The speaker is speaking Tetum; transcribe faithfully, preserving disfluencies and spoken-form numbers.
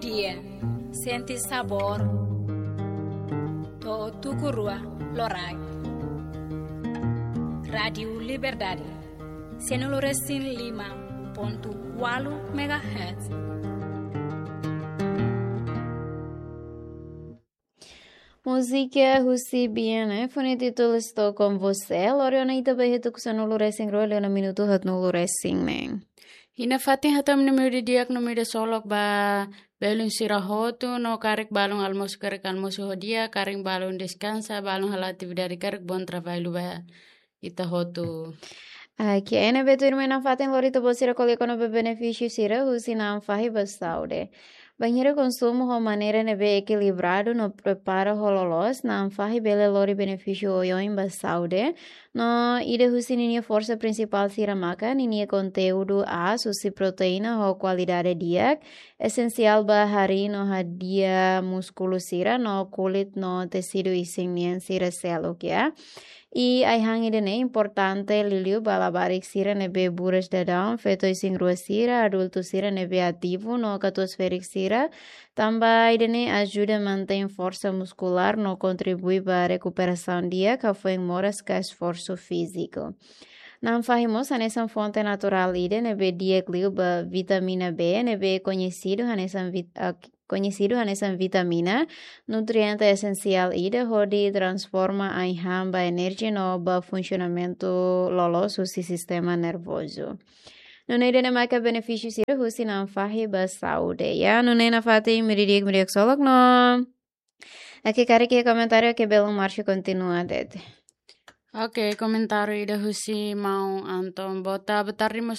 Dia, sente sabór. To'o tuku rua loraik. Rádiu Liberdade, sanulu resin lima pontu ualu megahertz. Múzika husi Bian, eh, fó-nia títulu Estou Com Você. Lori ona ita ba iha tuku sanulu resin rua, liu ona minutu haatnulu resin neen. Iha nafatin hato'o ami-nia meiudia di'ak no meiudia ksolok ba belun sira hotu no karik balun almosu, karik almosu ho di'ak, karik balun deskansa, balun halo atividade, karik bom trabalho ba ita hotu. Oke, ne'ebé tuirmai nafatin lori ita-boot sira ko'alia kona-ba benefísiu sira husi na'an fahi ba saúde. Bainhira konsumu ho maneira ne'ebé ekilibradu no prepara ho loloos, na'an fahi bele lori benefísiu oioin ba saúde. No ida husi ninia forsa prinsipál sira maka ninia konteúdu aas husi proteína ho kualidade di'ak, esensiál ba harii no hadi'a múskulu sira no kulit no tesidu isin nian sira seluk, ya. I ai-han ida-ne'e importante liuliu ba labarik sira ne'ebé buras daudaun, feto isin-rua sira, adultu sira ne'ebé ativu no katuas-ferik sira, tanba ida-ne'e ajuda mantein forsa muskulár no kontribui ba rekuperasaun di'ak, hafoin moras ka esforsu fíziku. Na'an fahi mós hanesan fonte naturál ida ne'ebé di'ak liu ba vitamina B, ne'ebé koñesidu hanesan vit-, ah, koñesidu hanesan vitamina, nutriente esensiál ida hodi transforma ai-han ba enerjia no ba funsionamentu loloos husi sistema nervozu. Nune'e ida-ne'e maka benefísiu sira husi na'an fahi ba saúde, ya. Nune'e nafatin meiudia di'ak, meiudia ksolok no. Oke, karik iha komentáriu, oke, belun Márcio kontinua de'it. Oke, komentáriu ida husi maun Anton. Boa ta-, boa tarde, maun